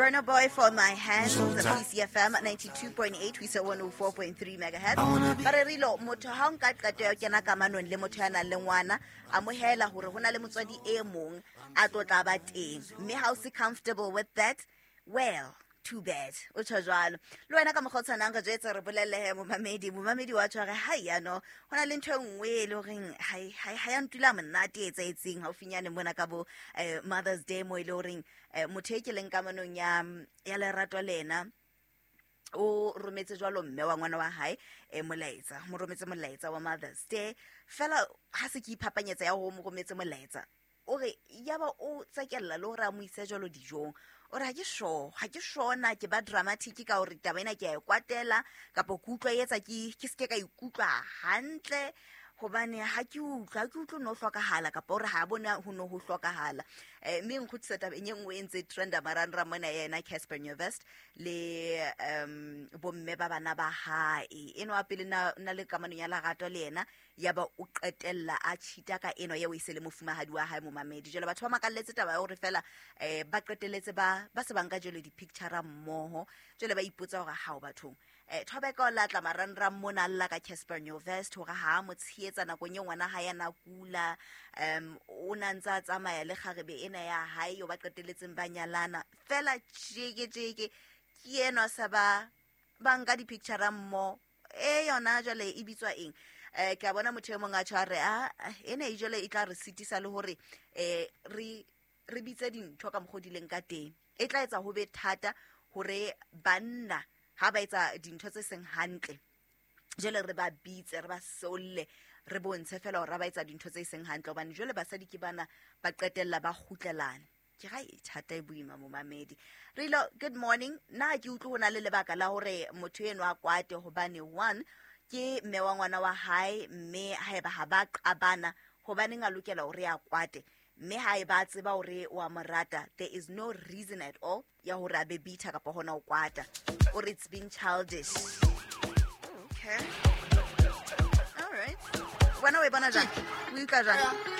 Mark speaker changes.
Speaker 1: Burna Boy for My Hands, PCFM 92.8 ho isa 104.3 megahertz. Ba re rilo motho ha o nka qeto ya ho kena kamanong le motho ya nang le ngwana, amohela hore ho na le motswadi e mong a tlo tla ba teng. Mme ha o se comfortable with that, well, too bad. O tjho jwalo. Le wena ka mokgwa o tshwanang re jwetse re bolelle he momamedi, momamedi wa tjho re hai yano, ho na le ntho e nngwe e le horeng ha ya ntula monate e etsahetseng haufinyane mona ka bo Mother's Day mo e le horeng motho e ke leng kamanong ya lerato le ena o rometse jwalo mme wa ngwana wa hae molaetsa, mo rometse molaetsa wa Mother's Day. Fela ha se ke iphapanyetsa ya ho mo rometse molaetsa, o re yaba o tsekella le hore a mo ise jwalo dijong. O re ha ke sure, ha ke sure na ke ba dramatic ka hore taba ena ke a e kwatela kapa ke utlwa e etsa ke seke ka ikutlwa hantle, hobane ha ke utlwa, ha ke utlwe no hlokahala kapa hore ha bona ho no ho hlokahala. Mme nkgutlisa tabeng e nngwe e ntse trenda marangrang mona ya yena Cassper Nyovest le bomme ba bana ba hae. Enwa pele na le kamanong ya lerato le yena, ya ba o qetella a cheata ka enwa eo e se le mofumahadi wa hae momamedi. Jwale batho ba makalletse taba ya hore fela ba qetelletse ba se ba nka jwale di-picture mmoho. Jwale ba ipotsa hore hao bathong. Thobeka o latla marangrang mona a lla ka Cassper Nyovest hore ha a mo tshehetsa nakong e ngwana hae a na kula, o na ntse a tsamaya le kgarebe ena ya hae eo ba qetelletseng ba nyalana. Fela tjeke tjeke ke enwa sa ba nka di-picture mmoho. E yona jwale e bitswa eng? Ke a bona motho e mong a tjho a re, ena e jwale e tla re sitisa le hore re bitse dintho ka mokgwa o di leng ka teng. E tla etsa ho be thata hore banna ha ba etsa dintho tse seng hantle, jwale re ba bitse, re ba solle, re bontshe fela hore ha ba etsa dintho tse seng hantle, hobane jwale basadi ke bana ba qetella ba kgutlelana. Ke ga e thata e boima momamedi. Rilo, good morning. Nna ha ke utlwe ho na le lebaka la hore motho enwa a kwate, hobane one ke mme wa ngwana wa hae, mme haeba ha ba qabana, hobaneng a lokela hore a kwate? Mme ha eba a tseba hore wa mo rata, there is no reason at all ya hore a be bitter kapa hona ho kwata. O re it's been childish. Okay. All right. Wena o e bona jang? O utlwa jang?